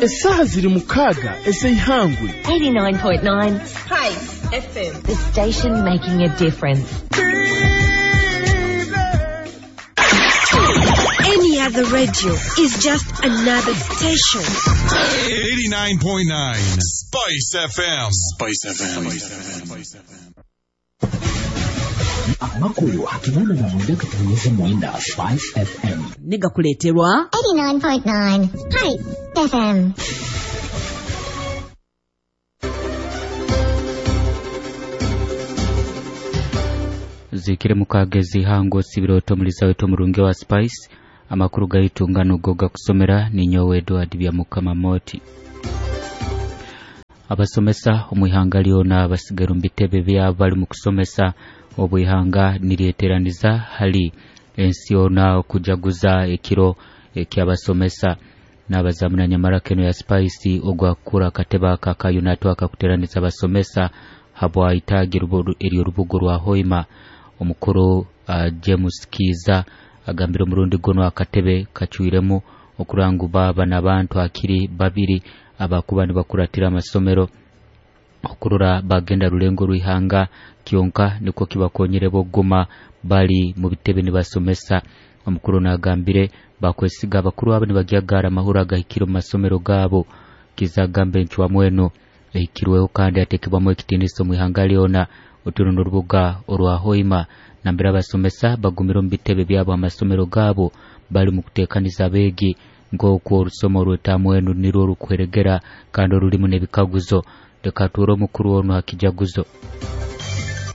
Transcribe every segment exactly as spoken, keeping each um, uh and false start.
Esaha ziri mukaaga ez'eihangwe. eighty-nine point nine Spice F M, the station making a difference. Any other radio is just another station. eighty-nine point nine Spice F M. Spice F M. Spice F M. Amakulu hakinana na mwenda katunyeze mwenda Spice F M. Niga kuleterwa eighty-nine point nine Spice F M. Zikire mukagezi hango sibiroto muliza wetu murungi wa Spice. Amakuru gaitu ngano goga kusomera ni nyowe Edward Byamukama Moti. Abasomesa omwihanga lyona basigaru mbitebe bya bali mu kusomesa obwihanga niryeteraniza hali ensi yona okujaguza ekiro ekyabasomesa n'abazamuna nyamara keno ya Spice ogwakura kateba kakayo natwaka kuteraniza abasomesa habwa itagi eryo rubugo rwa Hoima. Omukuru uh, James Kiza agambira omurundi gono akatebe kacuiremu okurangu baba n'abantu akiri babiri abakuba nibakuratira amasomero okurora bagenda rulengo rwihanga kyonka niko kibakonyere bogoma bali mu bitebe nibasomesa. Omukuru nagambire bakwesiga abakuru abo nibagyagara amahura agahikire mu masomero gabo. Kiza agambe nchwa mweno ehikirweho kandi atekebwamu ekitiniso mu ihanga lyona oturuno rubuga orwa Hoima nambera abasomesa bagumira mu bitebe byabo amasomero gabo bali mu kutekaniza abegi ng'okwo orusomo rw'etamwenu nirwo rukweregera kandi orulimu n'ebikaguzo. Leka tuure omukuru ono hakijaguzo.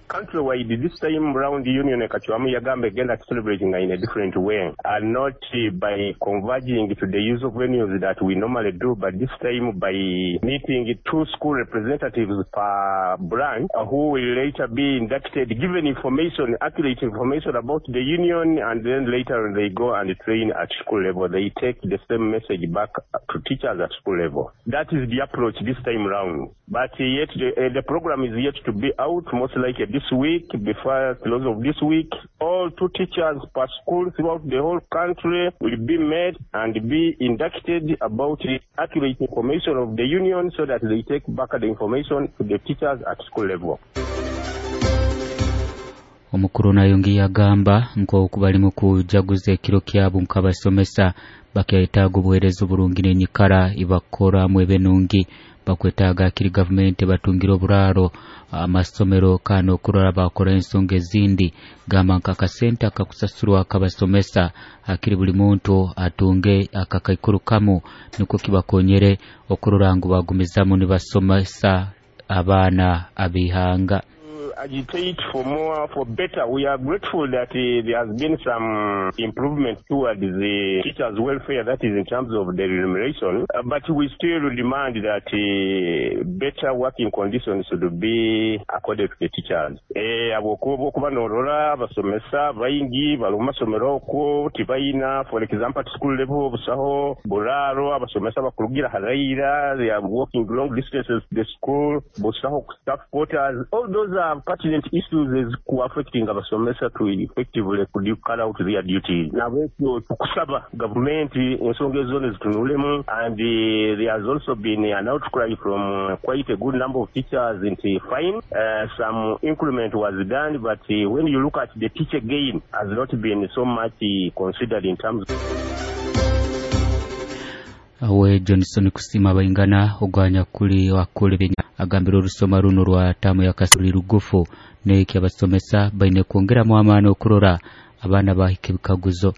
Countrywide, this time round, Union Kachwamu Yagambe again celebrating in a different way, and not by converging to the use of venues that we normally do, but this time by meeting two school representatives per branch who will later be inducted, given information, accurate information about the union, and then later they go and train at school level. They take the same message back to teachers at school level. That is the approach this time round. But yet the, uh, the program is yet to be out, most likely this week, before close of this week. All two teachers per school throughout the whole country will be met and be inducted about the accurate information of the union so that they take back the information to the teachers at school level. Omukuru nayongi yagamba nk'oku bali mu kujaguza ekiro kyabo nk'abasomesa bakyetaaga obuheereza oburungi n'enyikara ibakoramu ebenungi bakwetaaga akiri gavumenti batungira oburaaro amasomero kandi okurora bakora ensonga ezindi gamba nk'akasente akakusasurwa akabasomesa akiri buli muntu atunge akakaikuru kamu niko kibakonyere okurora ngu bagumizamu nibasomesa abaana ab'ihanga. Agitate for more, for better. We are grateful that uh, there has been some improvement towards the teachers' welfare, that is in terms of the remuneration, uh, but we still demand that uh, better working conditions should be accorded to the teachers. Abo kuba norora basomesa baingi bali mu masomero okwo tibayina, for example at school level busaho buraro abasomesa bakurugira haraira, they are walking long distances to the school, busaho staff quarters. All those are pertinent issues is affecting abasomesa to effectively could carry out their duties. Nabwekyo tukusaba government ensonga ezo zitunulemu, and uh, there has also been an outcry from uh, quite a good number of teachers into fine. Uh, some increment was done, but uh, when you look at the teacher gain has not been so much uh, considered in terms. Awe Johnson kusima baingana ogwanya kuli wakule benya agambira orusoma runo rwa tamu ya kasuli rugufu neki abasomesa baine kwongeramu amaani okurora abaana bahika ebikaguzo.